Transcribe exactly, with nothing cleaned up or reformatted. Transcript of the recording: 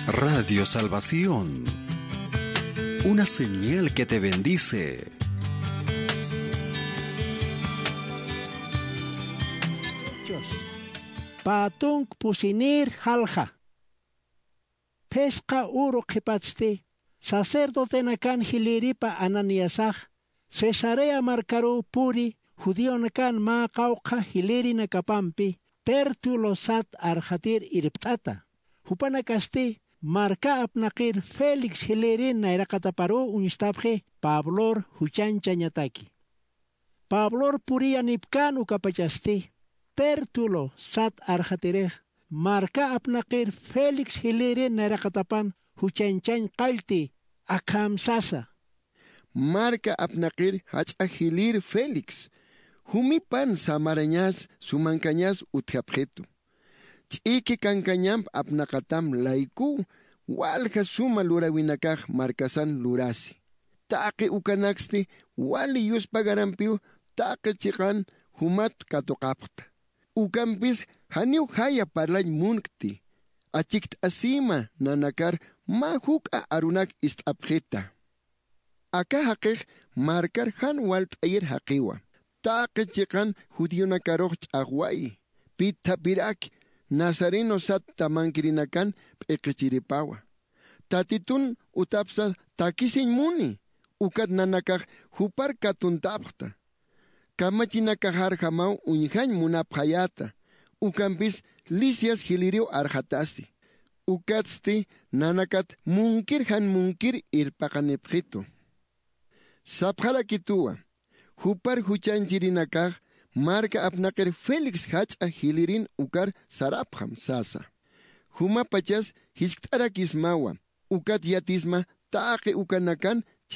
Radio Salvación, una señal que te bendice. Hechos. Pä tunk pusinïr jalja. Phisqa uru qhipatsti, sacerdotenakan jilïripa Ananiasax Cesarea markaruw puri judionakan mä qawqha jilïrinakapampi Tértulo sat arxatir irpt'ata. Jupanakasti marka apnaqir Félix jilïrin nayraqataparuw uñstapxi Pablor juchañchañataki. Pablor puriyanipkän ukapachasti, Tértulo sat arxatirix marka apnaqir Félix jilïrin nayraqatapan juchañchañ qallti akham sasa: Marka apnaqir jach'a jilïr Félix, jumipan samarañas sumankañas utjapxitu. Ch'iki kankañamp apnaqatam laykuw walja suma luräwinakax markasan lurasi. Taqi ukanaksti wali yuspagarampiw taqi chiqan jumat katuqapxta. Ukampis janiw jaya parlañ munkti, achikt'asïma nanakar mä juk'a arunak ist'apxita. Aka jaqix markar jan walt'ayir jaqiwa. Taqi chiqan judionakarux ch'axwayi, pitthapiraki, nazareno sat tamankirinakan p'iqichiripawa. Tatitun utapsa takisiñ muni, ukat nanakax jupar katuntapxta. Kamachinakaxarjamaw uñjañ munapxayäta, ukampis Lisias jilïriw arxatasi. Ukatsti nanakat munkir jan munkir irpaqanipxitu. Sapxarakituwa, jupar juchañchirinakax marka apnaqir Félix jach'a jilïrin ukar sarapxam sasa. Jumapachas jiskt'arakismawa, ukat yatisma taqi ukanakan